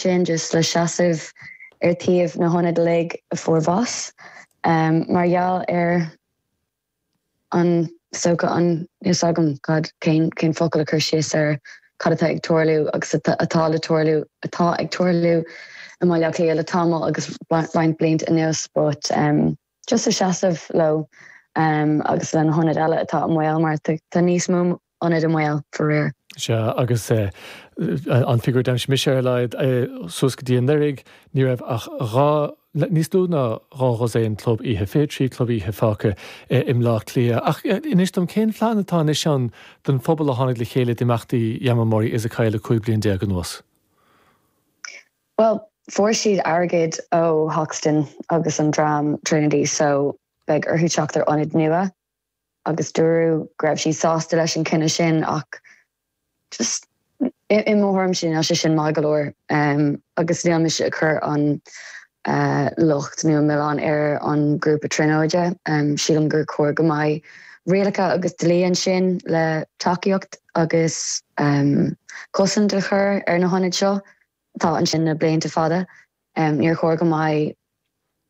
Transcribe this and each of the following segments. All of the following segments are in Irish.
Sin just le seasamh ar taobh na hionaid uilig a fuair bás mar gheall ar an, is dócha an, níl 's agam cad, cén, cén focal a chur síos ar cad atá ag tarlú agus atá le tarlú, atá ag tarlú i mBaile Átha Cliath le tamall agus roinnt blianta anuas but just a seasamh leo agus le na hionaid eile atá i mbaol mar tá níos mó ionad i mbaol, faraor. Sea, agus an figiúr a d'aimsigh mise ar a laghad, suas go dtí anuraidh, ní raibh ach 12, níos lú ná 12 dhosaen club oíche, 23 club oíche fágtha i mBleá Cliath. Ach inis dom, cén phlean atá anois ann don phobal a tháinig le chéile d'imeachtaí Yamamori Izakaya le 15 bliain anuas? Bhuel, fuair siad airgead ó Hoxton agus an dream Trinity so beidh orthu teacht ar ionad nua. agus dúradh go raibh siad sásta leis an cinneadh sin ach just i mo thuairimse níl sé sin maith go leor agus níl mise ag cur an locht nó an milleán ar an grúpa Tríonóide. Sílim gur chóir go mbeidh rialacha agus dlí ansin le tacaíocht agus cosaint a chur ar na hionaid seo atá ansin le blianta fada. Níor chóir go mbeidh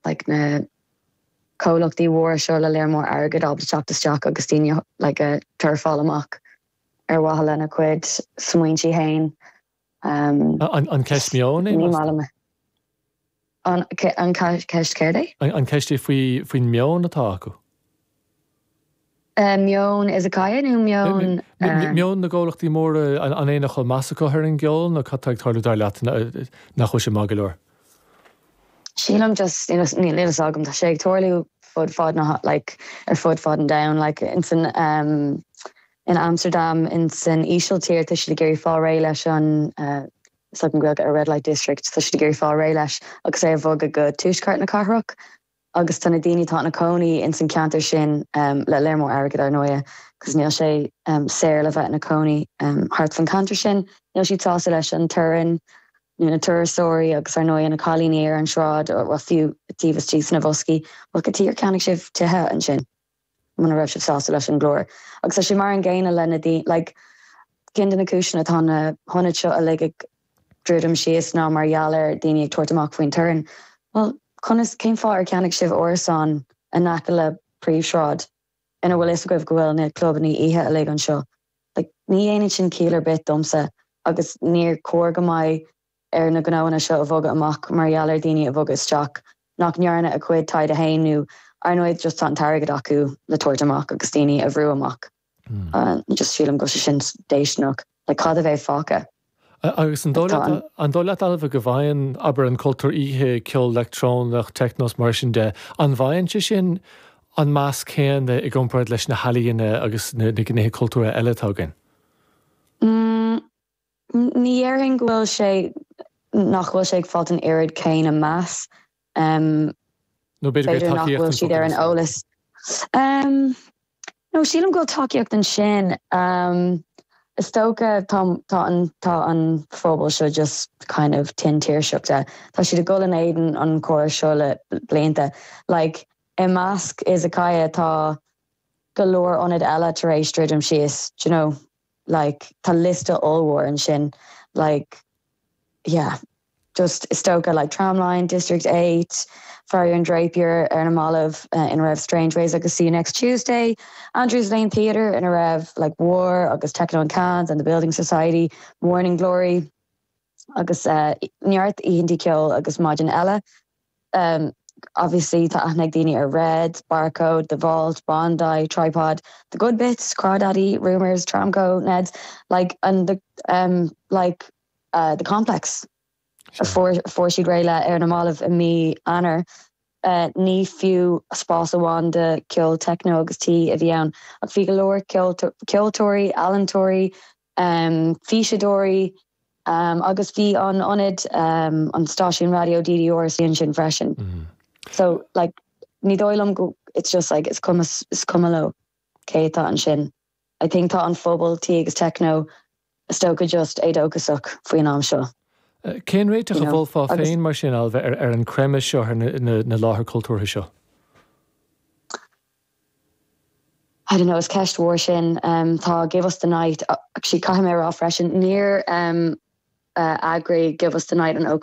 like na comhlachtaí mhóra seo le léar mór airgid ábalta teacht isteach agus daoine like a turfáil amach ar mhaithe lena gcuid smaointí fhéin. An ceist meoin é? Ní maith liom é. An ceist céard é? An ceist é faoin meon atá acu? Meon Izakaya nó meon. Meon na gcomhlachtaí móra, an é nach bhfuil meas acu ar an gceol nó cad tá ag tarlú dar leat nach bhfuil sé maith go leor? Sílim just, níl a fhios agam, tá sé ag tarlú fud fad na, like, ar fud fad an domhain, like, in san, in Amsterdam, in san Ísiltír, tá siad ag iarraidh fáil réidh leis an, is agam Gaeilge ar Red Light District, tá siad ag iarraidh fáil réidh leis agus é a bhogadh go tuaisceart na cathrach. Agus tá na daoine atá ina cónaí ins an ceantar sin, le léar mór airgid ar ndóighe, cos níl sé saor le bheith ina cónaí thart fan ceantar sin, níl siad sásta leis an torann nó na turasóirí agus ar ndóighe na cailíní ar an sráid, bhuel fiú taobh istigh sna boscaí, bhuel cad chuige ar cheannaigh sibh tithe ansin? muna raibh sibh sásta leis an gclár. Agus tá sé mar an gcéanna le na daoine, like, ceann de na cúiseanna atá na hionaid seo uilig ag druidim síos ná mar gheall ar daoine ag tabhairt amach faoin torann. Bhuel, conas, cén fáth ar cheannaigh sibh árasán in aice le príomhshráid ina bhfuil fhios agaibh go bhfuil na clubannaí oíche uilig anseo? Like, ní dhéanann sin ciall ar bith domsa agus níor chóir go mbeidh ar na gnóanna seo a bhogadh amach mar gheall ar daoine a bhogadh isteach nach ndearna a gcuid taighde féin nó ar ndóigh just tá an t-airgead acu le tabhairt amach agus daoine a bhrú amach. Just sílim go bhfuil sé sin déistineach. Like cad a bheidh fágtha? Agus an dóigh leat, an dóigh leat Ailbhe go bhfaigheann, abair, an cultúr oíche, ceol leictreonach, techno is mar sin de, an bhfaigheann sé sin an meas céanna i gcomparáid leis na healaíona agus na gnéithe cultúrtha eile atá againn? Ní dhéarfainn go bhfuil sé, nach bhfuil sé ag fáilt an oiread céanna meas. Nó b'fhéidir nach bhfuil siad ar an eolas. No, sílim go bhfuil tacaíocht ansin. Is dócha tá tá an tá an phobal seo just kind of tinn tuirseach de. Tá siad ag dul in éadan an chórais seo le blianta. Like, i measc Izakaya tá go leor ionad eile tar éis druidim síos, do you know. like tá liosta ollmhór ansin like yeah just is dócha like Tramline, District 8, Farrier and Drapier ar na mallaibh ina raibh Strangeways agus See You Next Tuesday, Andrews Lane Theatre ina raibh like War agus Techno and Cans and The Building Society, Morning Glory agus neart oícheanta ceoil agus maidin eile. Obviously tá aithne ag daoine ar Red, Barcode, The Vault, Bondi, Tripod, The Good Bits, Crawdaddy, Rumours, Tramco, Neds, like and the um like uh The Complex a fuair fuair siad réidh le ar na mallaibh i mí Eanáir. Ní fiú spás amháin do ceol techno agus tí a bhí ann ach bhí go leor ceoltóirí, ealaíontóirí, físeadóirí agus bhí an ionad, an stáisiún raidió DDR istigh ansin freisin. So like ní dóigh liom go, it's just like is cuma, is cuma leo cé atá ansin. I think tá an phobal tí agus techno is dócha just éadóchasach faoin am seo. Cén réiteach a mholfá féin mar sin, Ailbhe, ar an creimeadh seo ar na láthair cultúrtha seo? I don't know, is ceist mhór sin. Tá Give Us The Night, actually caithfidh mé a rá freisin, níor. eagraigh Give Us The Night an ócáid.